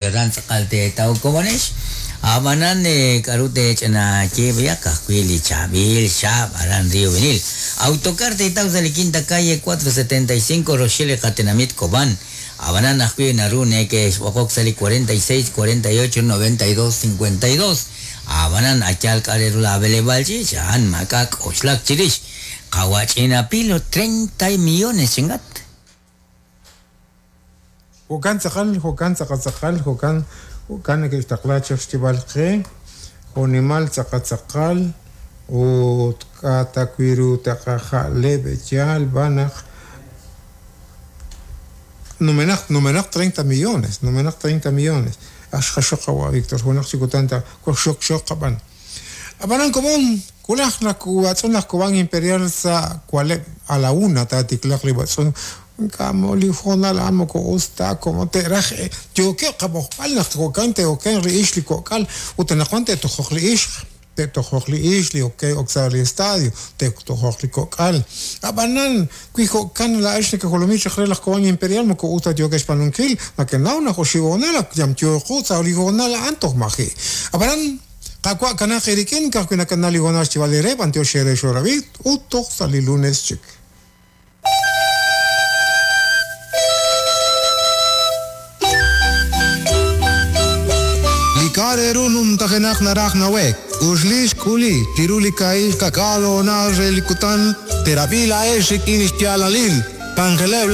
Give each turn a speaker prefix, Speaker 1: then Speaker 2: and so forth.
Speaker 1: Ran tz'aqal teetaw komonex. Ab'anan k'aru teech'ina yeeb'eyaq ka'ajwi' li chaab'il xaab' aran Río Vinil. Autocar teetaw sa' li quinta calle 475 roxil li qatenamit Cobán. Ab'anan ajwi' naru neke'xb'oqok sa' li 46 48 92 52. Ab'anan ayal k'a' re ru la b'eleb'aal ch'iich' a'an maak'a' k'oxlak chirix. Qawa' ch'ina pilo 30 millones chingat.
Speaker 2: Jo'kan tz'aqal, jo'kan tz'aqal tz'aqal, jo'kan jo'kan neke'xtaqla chaq xyeeb'al qe, jo'nimal tz'aqal tz'aqal ut k'a' ta wi' ru taqaja'leb' yaal b'an naq numenaq numenaq 30 millones, numenaq 30 millones. Ak xqaxok qawa' Victor, junaq chi kutan ta xok xok qab'an. Ab'anan komon, wulaj naq watz'un laj Cobán Imperial sa' waleb' a la una taatiklaq li b'atz'un ink'a' li hoonal a'an moko us ta como te'raj yookeb' qab'oqb'al naq jo'kan te'okenq li ixq li kok'al ut anaqwan te'tojoq li ixq te'tojoq li ixq li ok ok sa' li estadio te'tojoq li kok'al ab'anan wi jo'kan laa'ex nekejolomi chaq re laj Cobán Imperial moko us ta yookex xb'aanunkil nakenaw naq oxib' hoonal ak yamyooqu sa' li hoonal a'an toj maji' ab'anan Qaawa' kanaq eerik'in ka'ajwi' nakana li hoonal xyeeb'al eere b'antiox eere xorab'i ut toj sa' li lunes chik.
Speaker 3: Li k'a' re ru numtajenaq naraj nawe'k, uxli xk'uli chiru li kaahil ka'k'aal hoonal re li kutan, teerab'i laa'ex rik'in xyaalalil. K'anjeleb'